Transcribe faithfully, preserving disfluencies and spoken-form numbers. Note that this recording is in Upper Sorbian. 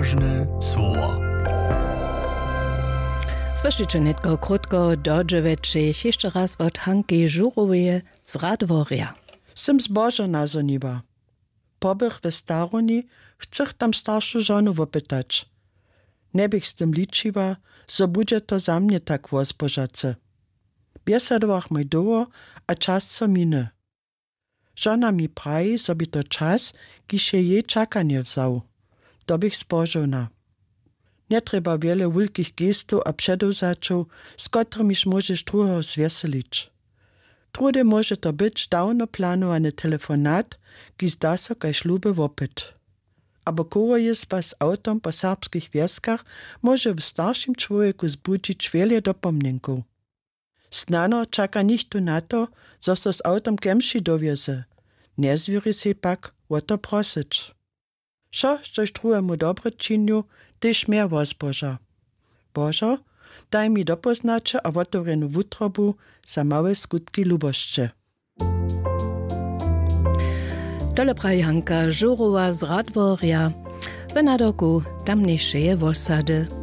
Łožne słowa. Słyšiće nětko krótko do dźewjećich hišće raz wot Hanki Žuroweje z Radworja. Sym zbožo nazhoniła. Pobych we starowni, chcych tam staršu žonu wopytać. Njebych z tym ličiła, zo budźe to za mnje tak wozbožace. Bjesadowachmoj dołho, a čas so miny. Žona mi praji, zo bě to čas, kiž je jej čakanje wzał. To běch spožołna. Njetrjeba wjele wulkich gestow a předewzaćow, z kotrymiž móžeš druheho zwjeselić. Druhdy móže to być dawno planowany telefonat, kiž zda so kaž luby wopyt. Abo kołojězba z awtom po serbskich wjeskach móže w staršim čłowjeku zbudźić wjele dopomnjenkow. Snano čaka nichtó na to, zo so z awtom kemši dowjeze. Njezwěri sej pak wo to prosyć. Wšo, štož druhemu dobre činju, tež mje wozboža. Božo, daj mi dopóznaće a wotewrjenu wutrobu za małe skutki lubosće. Tole praji Hanka Žurowa z Radworja w nadawku tamnjejšeje wosady.